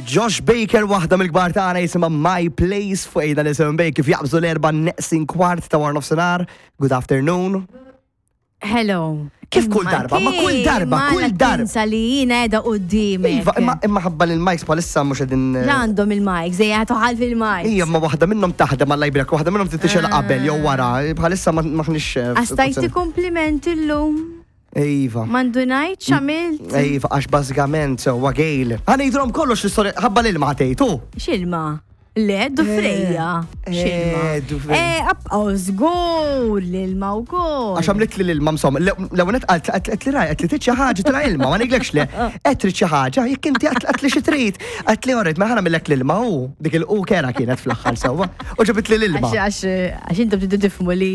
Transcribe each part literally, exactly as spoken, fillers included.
Josh Baker, waħda mill-kbar tagħna, jisimha My Place fuq ejda nisimgħu bej kif jaqbżu l-erba' neqsin kwart ta' wara nofsinhar. Good afternoon. Hello. Kif kull darba? Ma kull darba, kull darba. Tinsa li jiena qiegħda qudiemek. Iva, imma imma ħabba li l-mics bħalissa mhux qegħdin. La għandhom il-mics, ejja toħal fil-mics. Ija, ma waħda minnhom taħdem għal lajbrek, waħda minnhom titixel qabel jew wara. Bħalissa ma maħniex. eh, Għastajti kompliment illum. Iva. Mandu ngħid x'għamilt. Iva, għax bażikament sewwa gejl. Ħa ngħidulhom kollox l-istorja ħabba l-ilma ħatejtu. X'ilma? Le, dufrejja. Eh, X'ilma? dufrejja. Eh, abqaw żgur l-ilma wkoll. Għax għamlet li l-ilma msom, l-għonet għalt għalt li raj, għalt li trid xi ħaġa tila ilma, ma ngħidlekx le, qed trid xi ħaġa, jekk inti għalt li xi trid, għalt li orret, ma ħana millek l-ilma u dik il-u kera kienet fl-aħħar sewwa, u ġabit li l-ilma. Għax għax għax intom tridu tifhmu li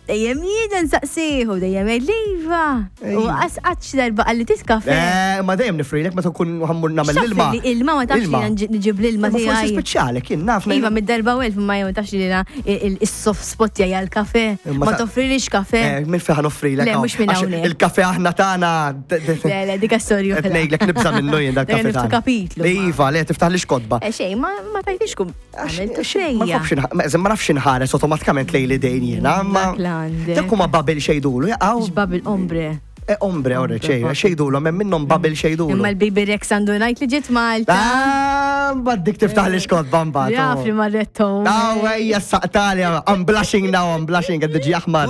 dejjem jiena nsaqsihu, dejjem jgħid li iva. U Ejja. għas qatt xi darba qalli tiskafe. Eh, ma dejjem nifrilek meta nkun ħammur nagħmel l-ilma. Li ilma ma tafx li Ilma. jiena nġib l-ilma Ma forsi tiegħi. speċjali kien naf. Iva, mid-darba u elf ma jew tafx li jiena il-soft spot tiegħi għal-kafe. Imma Ma ta- toffrilix kafe. Eh, Minn fejn offrilek. Le, hawn. mhux minn Għax hawnhekk. Il-kafe aħna tagħna. Le, le, dik storja Qed ngħidlek nibża' minnu jien dal-kafe Niftu tagħna. kapitlu. Iva, le tiftaħ li xkodba. Eh, xejn, ma ma tajtix kum. Għamiltu Ma xejja. nafx inħ- ma ma nafx inħares automatikament lejn l-idejn jiena, ma. Dak l-għandek. Dak huma babel xejdulu, jaqgħu. Xbab il-ombre. Eh, ombre, orre, ċej, xejdulu, hemm minnhom babel xejdulu. Imma l-Baby Rex għandu ngħid li ġiet Malta. Ah, mbagħad dik tiftaħ li xkodba mbagħad. Jaf li marrettom. Ah, ejja, saqtali, I'm blushing now, I'm blushing, għad diġi aħmar.